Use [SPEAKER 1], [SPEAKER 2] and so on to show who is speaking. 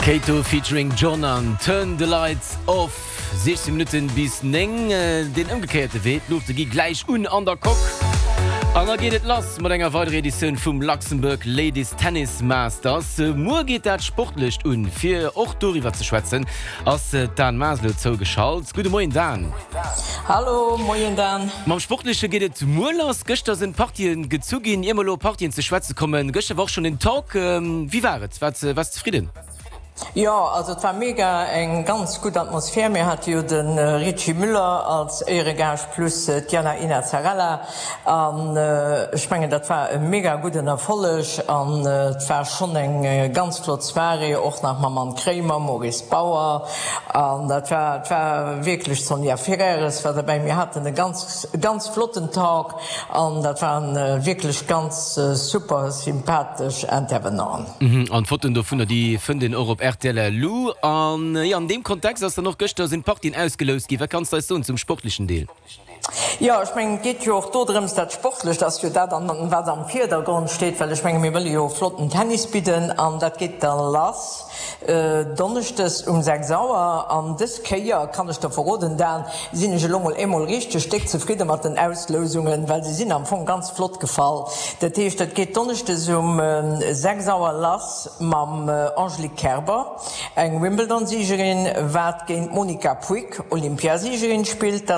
[SPEAKER 1] Kato featuring John an Turn the Lights Off. 16 Minutten bis 9, deen ëmgekéierte Wee, d'Luuchte gi gläich un an der Coque an da geet et lass mat enger weiderer Editioun vum Luxembourg Ladies Tennis Masters. Muer geet dat Sportlecht un. Fir och doriwwer ze schwätzen ass d'Dan Maas elo zougeschalt. Gudde Moien Dan.
[SPEAKER 2] Hallo, moien Dan.
[SPEAKER 1] Mam Sportleche geet et muer lass. Gëschter sinn d'Partien gezu ginn. Ier mer elo op Partien ze schwätze kommen, gëschter war och schonn den Talk. Wéi war et? Waars de zefridden?
[SPEAKER 2] Jo, also et war mega, eng ganz gutt Atmosphär. Mir hate jo de Richy Müller als Éieregaascht plus d'Jana Ina Zarella an ech mengen dat war e mega gudden Erfolleg an et war schonn eng ganz flott Soirée, och nach mam Anne Kremer, Maurice Bauer an dat war, et war wierklech, d'Sonja Ferreres war derbäi. Mir haten e ganz, ganz flotten Talk an dat waren wierklech ganz super sympathesch Intervenanten.
[SPEAKER 1] An d'Fotoen dovunner, déi fënnt een och op rtl Lu. An jo, an deem Kontext ass dann och gëschter sinn d'Partien ausgeloust ginn. Wat kanns de eis soen zum sportlechen Deel?
[SPEAKER 2] Jo, ech mengen, et geet jo och do drëms, dat Sportlecht ass jo dat, wat am Virdergrond steet, well ech menge mir wëlle jo flotten Tennis bidden an dat geet da lass donneschdes um 6 Auer. An dës Kéier, kann ech der verroden, Dan, sinn ech elo mol eemol richteg déck zefridde mat den Auslousungen, well se sinn am Fong ganz flott gefall. Dat heescht, et geet donneschdes um 6 Auer lass mam Angelique Kerber, eng Wimbledon-Siegerin, wat géint d'Monica Puig, Olympiasiegerin, spillt.